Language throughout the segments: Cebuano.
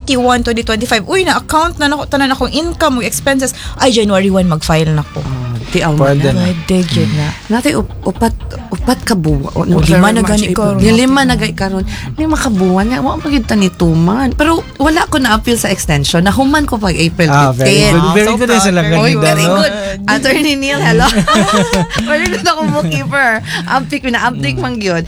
31, 2025, uy, na-account na nako tanan akong income ug expenses, ay, January 1 mag-file na ko. Tiaw mo Pwede na. na. Pwede gyud na. Natay upat ka buwan. O, lima na gani karon. Yung lima na gani karon. Lima ka buwan nga. Wa pa gyud ta ni tuman. Pero wala ko na-appeal sa extension. Nahuman ko pag April 15. Ah, very good. Ah, Very so good sila proud. Oy, ganida, very no? good. Attorney Neil, hello. Very good ako bookkeeper. Ampik, pina-ampik man gyud.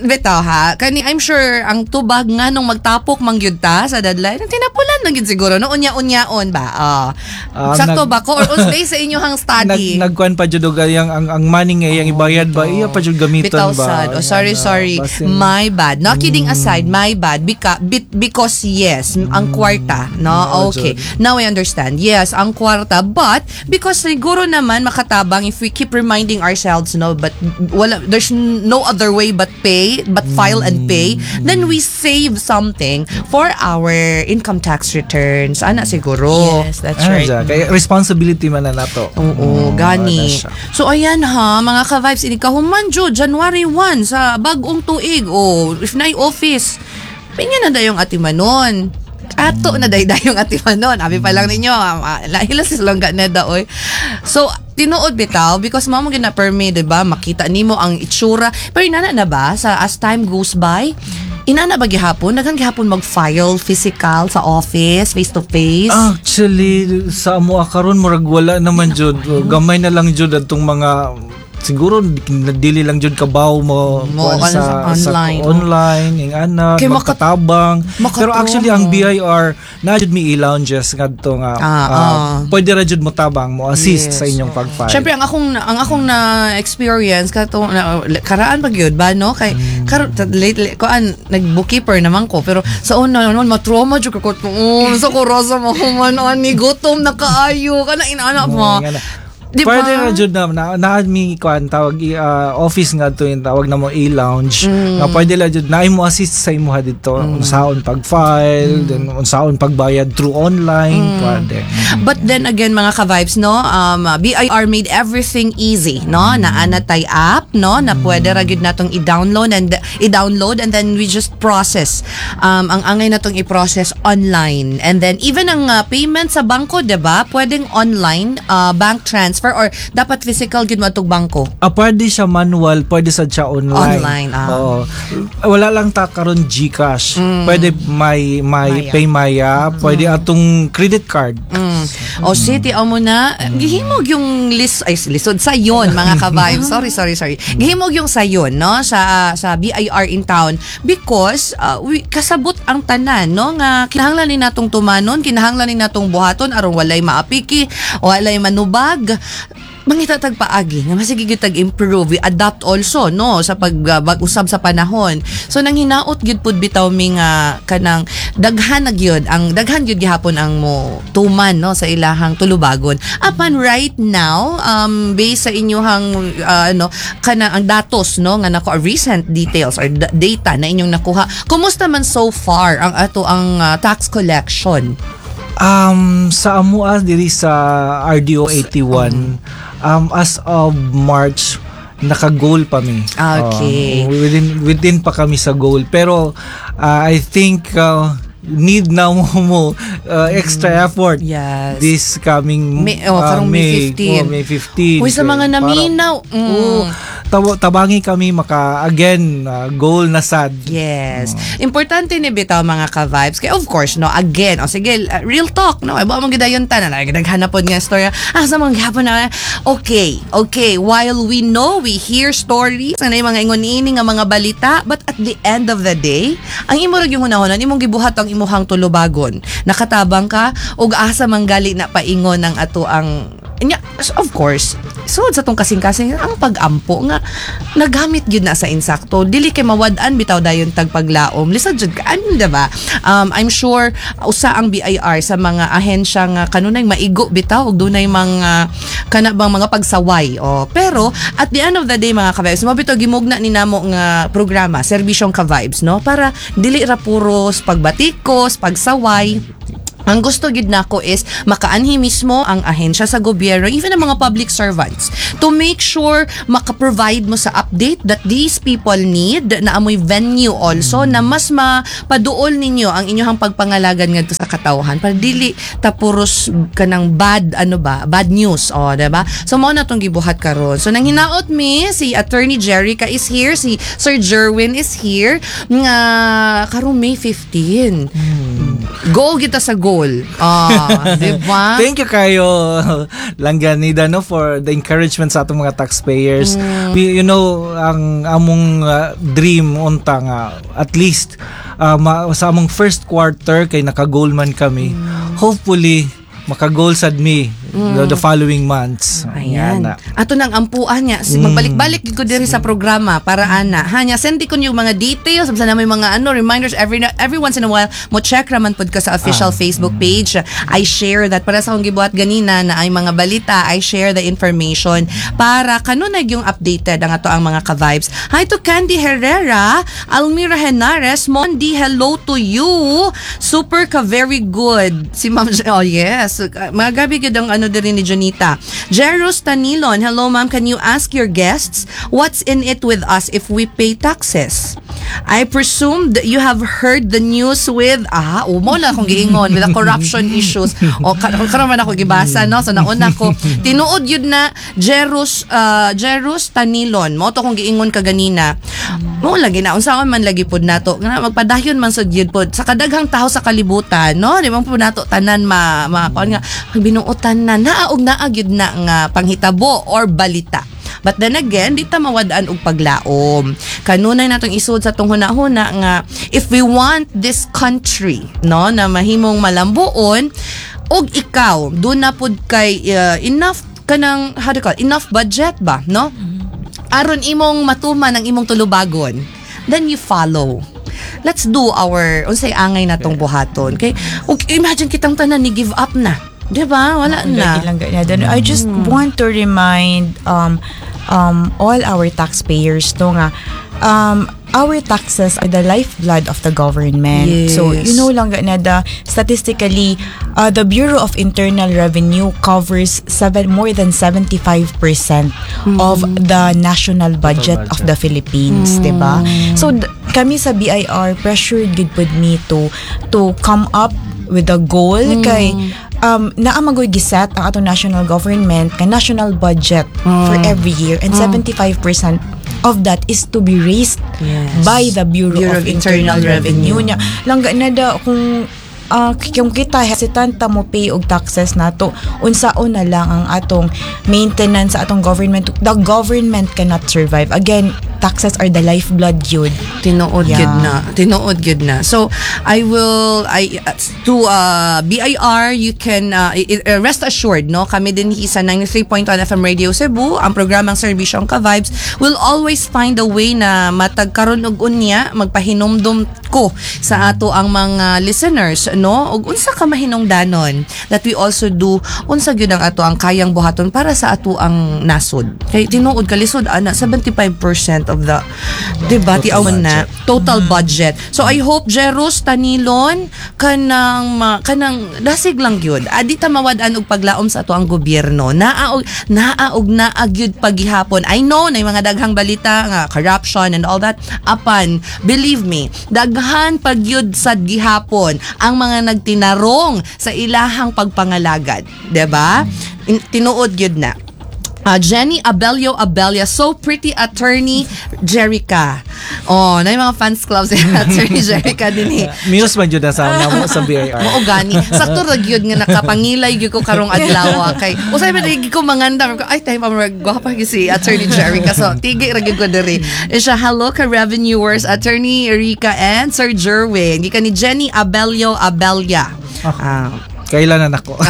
Bitaw ha, kani I'm sure ang tubag nga nung magtapok man gyud ta sa deadline, tinapulan na gyud siguro no, unya-unyaon ba? Ah. Ah, Sakto ba ko or unsay sa inyong study? Nagkuan pa jud og ang money nga iyang ibayad ba, iya pa jud gamiton Bitaw ba. sad. Oh, sorry, Ano, sorry. My bad. No, kidding aside, my bad. Because yes, ang kwarta, no? Oo, Okay. Jud. Now I understand. Yes, ang kwarta. But, because siguro naman makatabang if we keep reminding ourselves, no, but wala, there's no other way but pay, but file and pay, then we save something for our income tax returns. Ana siguro. Yes, that's Ano right. siya? Kaya responsibility man na nato. Oo, gani. Ana siya. So ayan ha, mga ka-vibes, ini kahuman jud January 1 sa bag-ong tuig o if naay office. Pinya na dayong atimanon. Ato na day dayong atimanon. Abi pa lang ninyo, lahila sa langga na da oy. So tinuod bitaw because mao mo gina permi, 'di ba? Makita nimo ang itsura. Pero inana na ba sa as time goes by? Inana ba gihapon? Daghan gihapon mag-file physical sa office, face to face? Actually, sa amo karon murag wala naman jud. Gamay na lang jud atong mga siguro dili lang jud kabaw mo Mo, kuan ano, sa online. Sa online ing ana Kay magkatabang, pero makatrauma. Actually ang BIR na jud mi e-lounges ngadto nga pwede ra jud mo tabang mo assist sa inyong pag-file. Syempre ang akong na experience kato na, karaan pag yun ba, no, kay lately kuan nag bookkeeper naman ko, pero sa una naman matrauma jud ko, oh, sa ko rosa mo human ani, gutom na kaayo kana inaana mo. Nga na. Di ba? Pwede ra jud na mi kuan tawag office nga to yung tawag na mo e-lounge nga pwede la jud na mo assist sa imuha dito unsaon pag-file, then unsaon pagbayad through online, pwede. But then again, mga ka-vibes, no, BIR made everything easy, no? Naa na tay app, no, na pwede ra gyud natong i-download and then we just process. Ang angay natong i-process online. And then even ang payment sa bangko, 'di ba? Pwedeng online bank transfer or dapat physical gyud mo atong bangko? Ah, pwede siya manual, pwede sad siya online. Online, ah. Oo. Wala lang ta karon GCash. Pwede may Maya. PayMaya, pwede atong credit card. O city o mo na gihimog yung lis ay lisod sayon, mga ka-vibes. Sorry, sorry, sorry. Gihimog yung sayon, no, sa BIR in town because we, kasabot ang tanan, no, nga kinahanglan ni natong tumanon, kinahanglan ni natong buhaton aron walay maapiki, walay manubag, mangita tag paagi nga masige gyud tag improve, we adapt also, no, sa pag usab sa panahon. So nang hinaot gyud pud bitaw mi nga kanang daghan na gyud ang daghan gyud gihapon ang mo tuman, no, sa ilahang tulubagon. Apan right now, based sa inyuhang ano kana ang datos, no, nga nako recent details or data na inyong nakuha, kumusta man so far ang ato ang tax collection? Sa amua diri sa RDO 81, as of March naka-goal pa mi. Within pa kami sa goal. Pero I think need na mo extra effort this coming May, oh, karong May 15. Oh, May 15. Uy, sa mga naminaw. Oo, tabangi kami maka again goal na sad. Yes. Importante ni bitaw, mga ka-vibes. Kaya of course, no, again, o sige, real talk, no? Ay, ba mong gidayon tanan, ay, naghanapon nga storya. Ah, sa mga gihapon na, okay, while we know, we hear stories, ano yung mga ingon-ini nga mga balita, but at the end of the day, ang imo ra yung hunahunan, imong gibuhat ang imuhang tulubagon. Nakatabang ka, ug asa manggali na paingon ang ato ang Nya, of course, sud sa tong kasing-kasing ang pag-ampo nga nagamit gyud na sa insakto, dili kay mawad-an bitaw dayon tag paglaom, lisod jud ka ano, diba? I'm sure usa ang BIR sa mga ahensya nga kanunay maigo bitaw ug dunay mga kana bang mga pagsaway, oh. Pero at the end of the day, mga ka-vibes, mo bitaw gimugna ni namo nga programa Serbisyong Ka-Vibes, no, para dili ra puros pagbatikos, pagsaway. Ang gusto gid nako is makaanhi mismo ang ahensya sa gobyerno, even ang mga public servants, to make sure maka-provide mo sa update that these people need, na amoy venue also na mas mapaduol ninyo ang inyong pagpangalagan ngadto sa katawhan para dili ta puros kanang bad, ano ba, bad news, oh, diba? So mao na tong gibuhat karon. So nang hinaot mi, si Attorney Jerica is here, si Sir Jerwin is here, nga karong May 15, go kita sa goal. Ah, di ba? Thank you kayo, Langganida, no, for the encouragement sa atong mga taxpayers. We, ang among dream unta nga at least sa among first quarter kay naka-goal man kami. Hopefully maka-goal sad mi the following months. Ayan. Nga na. Ato nang ampuan niya. Magbalik-balik gid ko diri sa programa para ana. Ha nya, send ko yung mga details, basta na may mga ano, reminders every once in a while mo check raman pud ka sa official Facebook page. I share that para sa akong gibuhat ganina na ay mga balita, I share the information para kanunay yung updated ang ato ang mga ka-vibes. Hi to Candy Herrera, Almira Henares, Mondi, hello to you. Super ka, very good. Si Ma'am, oh yes. Mga gabi gid ang ano diri ni Janita. Jerus Tanilon, hello ma'am, can you ask your guests what's in it with us if we pay taxes? I presume that you have heard the news with, ah, umo na akong giingon with the corruption issues. O karon man ako gibasa, no? So nauna ko tinuod yun na Jerus Tanilon. Mo to akong giingon kaganina. Mo lagi na unsaon man lagi pud nato nga magpadayon man sad gyud pod sa kadaghang tao sa kalibutan, no? Di man pud nato tanan ma kuan nga binuotan na naa og naa gyud na nga panghitabo or balita. But then again, di ta mawad-an og paglaom. Kanunay natong isod sa tong hunahuna nga if we want this country, no, na mahimong malambuon og ikaw do na pud kay enough kanang, how do you call it? Enough budget ba, no? Aron imong matuman ang imong tulubagon, then you follow. Let's do our unsay angay natong buhaton. Kay og imagine kitang tanan ni give up na. 'Di ba? Wala na. Lagi lang ganyan. Then I just want to remind all our taxpayers to nga our taxes are the lifeblood of the government. So, you know lang na the statistically, the Bureau of Internal Revenue covers seven more than 75% of the national budget of the Philippines, 'di ba? So kami sa BIR, pressured gid pud mi to come up with a goal kay naa magoy giset ang atong national government ka national budget for every year, and 75% of that is to be raised by the Bureau of Internal Revenue. Nya langga na da kung kita hesitant ta mo pay og taxes nato, unsaon na lang ang atong maintenance sa atong government? The government cannot survive. Again, taxes are the lifeblood yun. Tinuod gyud na. Tinuod gyud na. So I will I to BIR, you can rest assured, no, kami din sa 93.1 FM Radio Cebu, ang programang Serbisyong Ka-Vibes will always find a way na matag karon og unya magpahinumdum ko sa ato ang mga listeners, no, og unsa ka mahinungdanon that we also do unsa gyud ang ato ang kayang buhaton para sa ato ang nasod, kay tinuod kalisod ana, 75% of the, diba, Total ti na budget. Total budget. So I hope, Jerus Tanilon, kanang dasig lang gyud. Adi ta mawad-an og paglaom sa ato ang gobyerno. Naa og naa gyud pagihapon. I know na mga daghang balita nga corruption and all that. Apan believe me, daghan pag gyud sad gihapon ang mga nagtinarong sa ilahang pagpangalagad, 'di ba? Tinuod gyud na. Jenny Abelio Abelia, so pretty, Attorney Jerica. Oh, na yung mga fans club si Attorney Jerica din eh. Muse man jud na sa namo sa BIR. Mao gani. Sakto ra gyud nga nakapangilay gyud ko karong adlaw kay usay ba gyud ko manganda ko ay time pa gwapa gyud si Attorney Jerica. So tigi ra gyud ko diri. Siya, hello ka revenuers, Attorney Rica and Sir Jerwin. Gikan ni Jenny Abelio Abelia. Ah. Kailan na nako.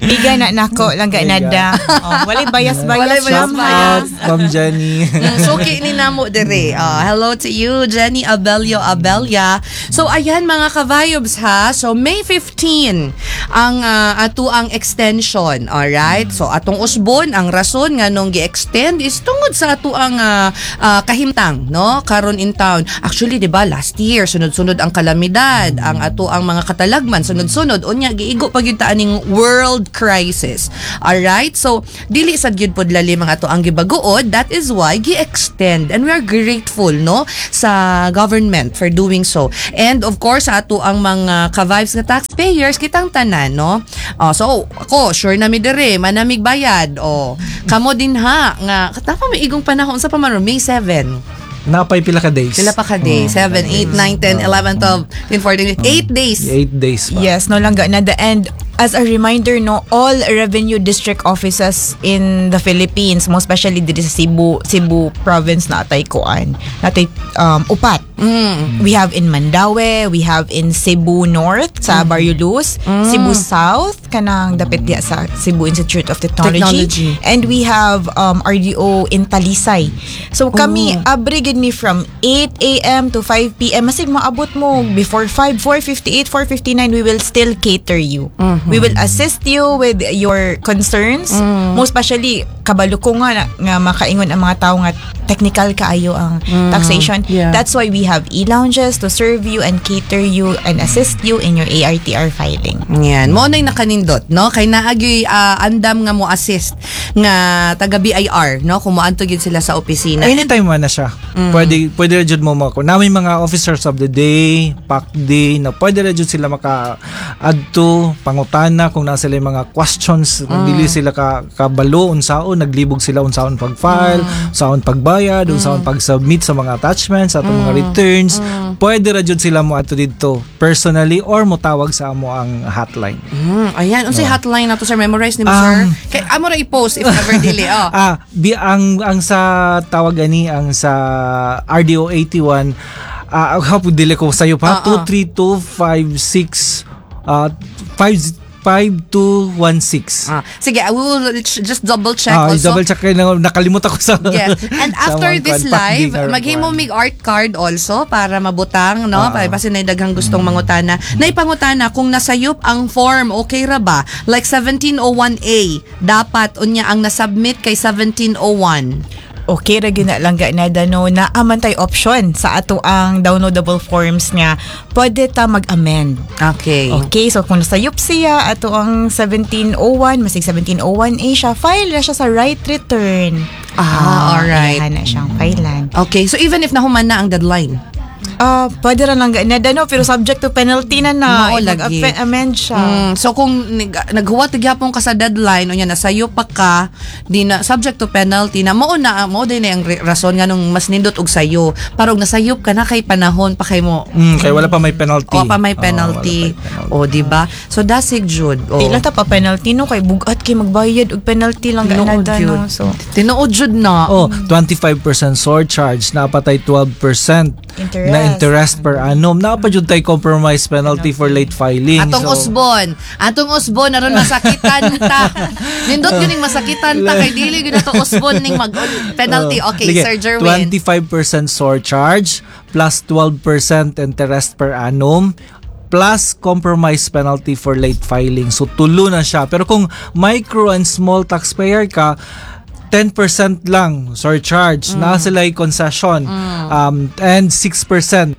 Miga na nako langga Miga. Nada. Oh, walay bias-bias. Walay ma'am, ha? bias-bias. Ma'am Jenny. Suki ni namo dire. Ah, hello to you, Jenny Abelio Abelia. So ayan, mga ka-vibes, ha. So May 15 ang ato ang extension, alright? So atong usbon ang rason nganong gi-extend is tungod sa ato ang kahimtang, no? Karon in town. Actually, 'di ba, last year sunod-sunod ang kalamidad, ang ato ang mga katalagman sunod-sunod, unya giigo pa gyud ta aning world crisis. Alright? So dili sad gyud pod lalim ang ato ang gibaguod. That is why gi-extend and we are grateful, no, sa government for doing so. And of course, ato ang mga ka-vibes nga taxpayers, kitang tanan, no. Oh, so ako sure na mi dire manamig bayad. Oh, kamo din ha nga katapa may igong panahon sa pa man May 7. Napay pila ka days. Pila pa ka days? 7, 8, 9, 10, 11, 12, 13, 14, 8 days. 8 days pa. Yes, no, langga na. The and as a reminder, no, all revenue district offices in the Philippines, most especially diri sa Cebu province, natay kuan. Natay upat. We have in Mandaue, we have in Cebu North sa Barrio Luz, Cebu South kanang dapit diya sa Cebu Institute of Technology, Technology. And we have RDO in Talisay. So kami abri gid mi from 8 a.m. to 5 p.m. Masig maabot mo before 5, 4:58, 4:59, we will still cater you. We will assist you with your concerns. Most especially kabalo ko nga makaingon ang mga tao nga technical kaayo ang taxation. That's why we have e-lounges to serve you and cater you and assist you in your ARTR filing. Yan, mo na'y nakanindot, no? Kay naagyoy andam nga mo assist nga taga BIR, no? Kung moadto gyud sila sa opisina. Anytime man na siya. Pwede ra jud mo mako. Na may mga officers of the day, pack day na pwede ra jud sila maka adto pangutana kung naa sila yung mga questions, kung dili sila ka kabalo unsaon naglibog sila unsaon pag-file, unsaon pagbayad, unsaon pag-submit sa mga attachments, sa atong mga returns. Pwede ra jud sila mo adto didto personally or mo tawag sa amo ang hotline. Ayan, unsay hotline nato, sir? Memorize nimo, sir? Kay amo ra i-post if ever dili. Oh. Ah, bi ang sa tawag ani ang sa RDO 81, hapon dili ko sayo pa. 23256 5 5216. Ah, sige, I will just double check also. Double check kayo na nakalimot ako sa Yes. And sa after mga this kwan, live, pakdi maghimo kwan. mig art card also para mabutang, no? Para basin na daghang gustong mangutana. Naipangutana kung nasayop ang form, okay ra ba? Like 1701A, dapat unya ang nasubmit kay 1701. Okay ra gyud na, langga na, no, naa man tay option sa ato ang downloadable forms nga pwede ta mag-amend. Okay, so kung nasayop siya ato ang 1701, masig 1701A siya, file na siya sa right return. Ah, alright. Iyahan na siyang filean. Okay, so even if nahuman na ang deadline. Ah, pwede ra lang na, no, pero subject to penalty na na. Mao lagi. Mag-amend siya. So kung naghuwat gyapon ka sa deadline unya nasayo pa ka, di na subject to penalty na. Mao na mao din na ang rason nganong mas nindot og sayo para og nasayop ka na kay panahon pa kay mo. Kay wala pa may penalty. O pa may Oo, penalty. wala pa may penalty. O, di ba? So dasig jud. O. Di lang ta pa penalty, no, kay bugat kay magbayad og penalty lang Tinuod na, jud. no. So Tinuod jud na. Oh, 25% surcharge, napatay 12% Interest. na interest per annum. Naa pa jud tay compromise penalty for late filing. Atong usbon. Atong usbon aron masakitan ta. Nindot gyud ning masakitan ta kay dili gyud ato usbon ning mag penalty. Oh, Okay, sige, Sir Jerwin. 25% surcharge plus 12% interest per annum plus compromise penalty for late filing. So tulo na siya. Pero kung micro and small taxpayer ka, 10% lang surcharge na sila yung concession and 6%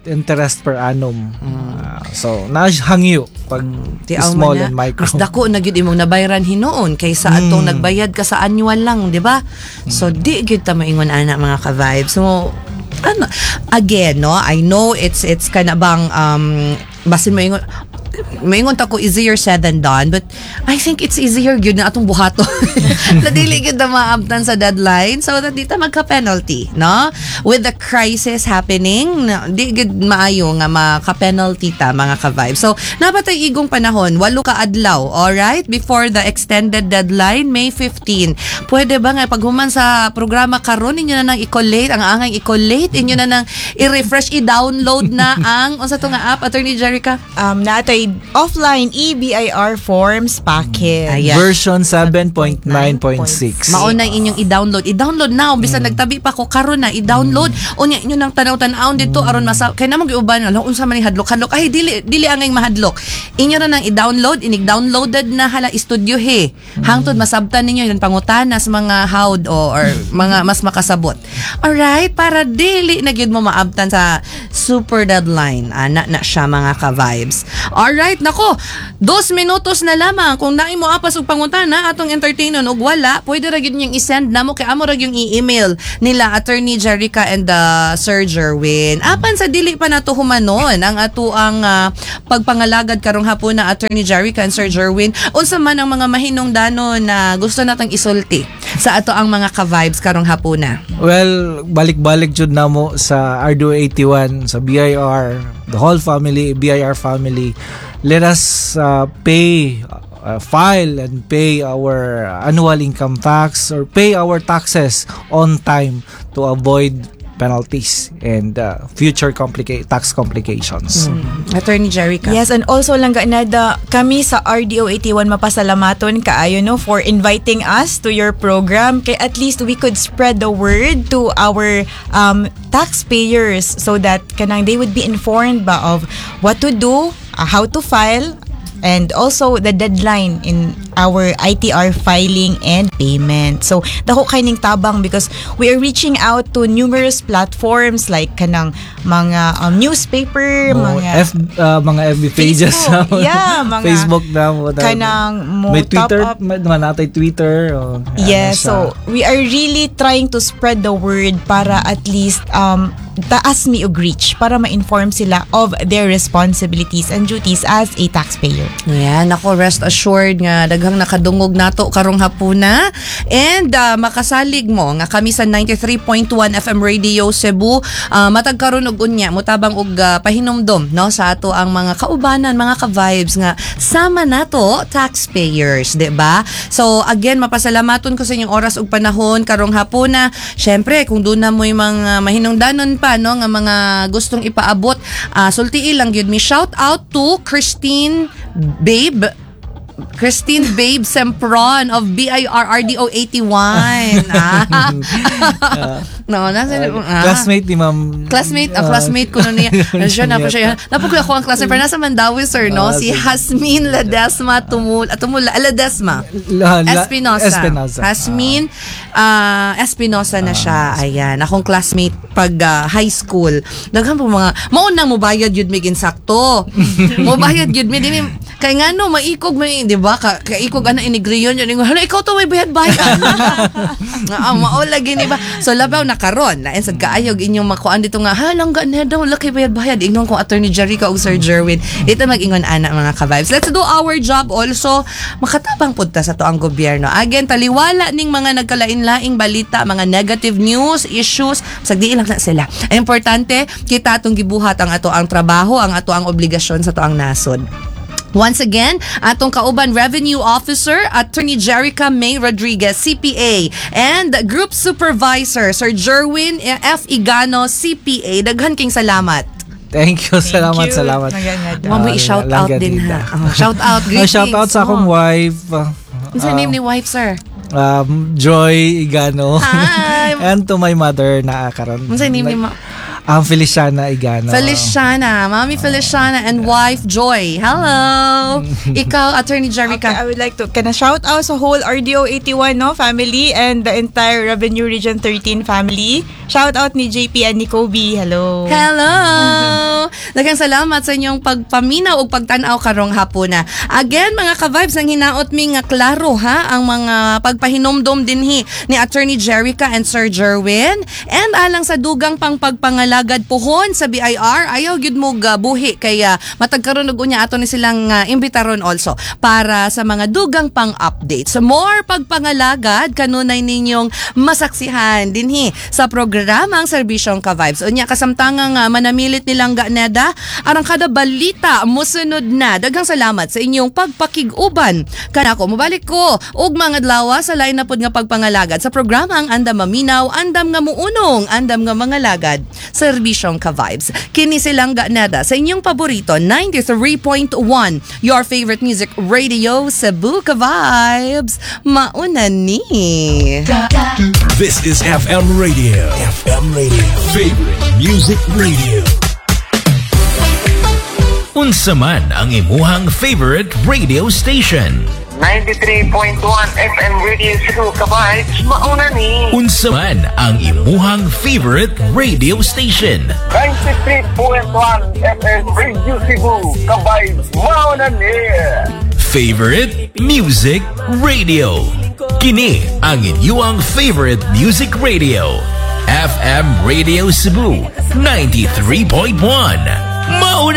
interest per annum. Ah, so nahangyo pag Di aw small man na, and micro. mas dako na gyud imong nabayran hinuon kaysa atong nagbayad ka sa annual lang, di ba? So di gyud ta maingon ana, mga ka-vibes. So ano, again, no, I know it's kana bang basin mo maingon ta ko easier said than done, but I think it's easier gyud na atong buhaton na dili gyud na maabtan sa deadline so that di ta magka-penalty, no? With the crisis happening na, di gyud maayo nga maka-penalty ta, mga ka-vibe. So napatay igong panahon, 8 ka adlaw, alright, before the extended deadline, May 15. Pwede ba nga paghuman sa programa karon inyo na nang i-collate ang angay i-collate, inyo na nang i-refresh, i-download na ang unsa to nga app, Attorney Jerica? Natay offline eBIR forms package. Ayan. Version 7.9.6. Mao na inyong i-download. I-download now bisan nagtabi pa ko karon na i-download. Unya inyo nang tanaw-tanawon dito aron masa kay namo giuban, ala, unsa man ni hadlok hadlok, ay dili dili angay mahadlok. Inyo na nang i-download, inig downloaded na, hala, istudyo he. Hangtod masabtan ninyo yung pangutana sa mga hawd o or mga mas makasabot. Alright, para dili na gyud mo maabtan sa super deadline. Ana na siya, mga ka-vibes. Alright, nako, 2 minutos na lamang. Kung naay mo apas og pangutana, atong entertainon, og wala, pwede ra gyud niyang i-send namo kay amo ra gyung i-email nila Attorney Jerica and Sir Jerwin. Apan sa dili pa nato humanon ang ato ang pagpangalagad karong hapon na, Attorney Jerica and Sir Jerwin, unsa man ang mga mahinungdanon na gusto natong isulti sa ato ang mga ka-vibes karong hapuna? Well, balik-balik jud namo sa RDO 81, sa BIR, the whole family, BIR family. Let us pay, file and pay our annual income tax or pay our taxes on time to avoid penalties and future tax complications. Attorney Jerica. Yes, and also lang nada kami sa RDO 81 mapasalamaton kaayo, no, for inviting us to your program kay at least we could spread the word to our taxpayers so that kanang they would be informed ba of what to do, how to file and also the deadline in our ITR filing and payment. So, dako kay ning tabang because we are reaching out to numerous platforms like kanang mga newspaper, Oh, mga mga FB pages. Facebook. Yeah, mga Facebook na mo. Kanang mo May top Twitter, up. May mga natay Twitter. Oh, ano Yes, siya. so we are really trying to spread the word para at least taas mi og reach para ma-inform sila of their responsibilities and duties as a taxpayer. Yan, ako, rest assured nga daghang nakadungog nato karong hapuna and makasalig mo nga kami sa 93.1 FM Radio Cebu matag karon og unya mutabang og pahinumdom, no, sa ato ang mga kaubanan, mga ka-vibes nga sama nato taxpayers, di ba? So again, mapasalamaton ko sa inyong oras ug panahon karong hapuna. Syempre, kung doon na mo'y mga mahinungdanon pa, no, nga mga gustong ipaabot, sultii lang gyud mi. Shout out to Christine Babe Sempron of BIRRDO 81. Ah. No, nasa Classmate ni Ma'am. Classmate, ang classmate ko nun niya. Ano siya, napo siya. Napo ko ako ang classmate, pero nasa Mandaue, sir, no? Si Hasmin Ledesma Tumula, Ledesma. Espinosa. Espinosa. Hasmin Espinosa na siya. Ayan. Akong classmate pag high school. Daghan po mga, maunang mubayad yun mig insakto. Mubayad yun mi. Di mi, kay nga no, maikog may, di ba? Kaikog ana inigriyon yun. Ingon, "Hala, ikaw to may bayad-bayad." Ah, mao lagi, di ba? So labaw na karon, lain sad kaayog inyong makuan dito nga, ha, langga na daw, laki bayad-bayad. Ingnon kong Attorney Jerica ug Sir Jerwin. Dito mag-ingon ana, mga ka-vibes. Let's do our job also. Makatabang pud ta sa to ang gobyerno. Again, taliwala ning mga nagkalain-laing balita, mga negative news, issues, sagdi lang na sila. Ang importante, kita atong gibuhat ang ato ang trabaho, ang ato ang obligasyon sa to ang nasod. Once again, atong kauban Revenue Officer, Attorney Jerica May Rodriguez, CPA, and Group Supervisor, Sir Jerwin F. Igano, CPA. Daghan king salamat. Thank you. Salamat, you. salamat. Maganda. Mamo, i-shout out din ha. Oh, shout out, greetings. Shout out sa akong wife. Unsa name ni wife, sir? Joy Igano. Hi. And to my mother na karon. Unsa name ni ma? Feliciana Igano. Feliciana, Mami Feliciana and wife Joy. Hello. Ikaw, Attorney Jerica. Okay, I would like to kana shout out sa whole RDO 81, no, family and the entire Revenue Region 13 family. Shout out ni JP and ni Kobe. Hello. Hello! Daghang salamat sa inyong pagpaminaw ug pagtan-aw karong hapuna. Again, mga ka-vibes, ang hinaot mi nga klaro ha ang mga pagpahinomdom dinhi ni Attorney Jerica and Sir Jerwin. And alang sa dugang pang pagpangalagad pohon sa BIR, ayaw gyud mo buhi kaya matag karon ug unya ato ni silang imbitaron also para sa mga dugang pang update. So more pagpangalagad kanunay ninyong masaksihan dinhi sa programang Serbisyong Ka-Vibes. Unya kasamtangang manamilit nilang ganeda arang kada balita mosunod na. Daghang salamat sa inyong pagpakig-uban. Kanako mobalik ko og mga adlaw sa lain na pud nga pagpangalagad sa programang andam maminaw, andam nga muunong, andam nga mangalagad sa Serbisyong ka-vibes. Kini silang ganada sa inyong paborito, 93.1, your favorite music radio, Cebu, ka-vibes. Mauna ni. This is FM Radio. FM Radio. Favorite Music Radio. Unsa man ang imuhang favorite radio station? 93.1 FM Radio Cebu, ka-vibes, mauna ni. Unsa man ang imuhang favorite radio station? 93.1 FM Radio Cebu, ka-vibes, mauna ni. Favorite Music Radio. Kini ang inyong favorite music radio. FM Radio Cebu 93.1. Mauna.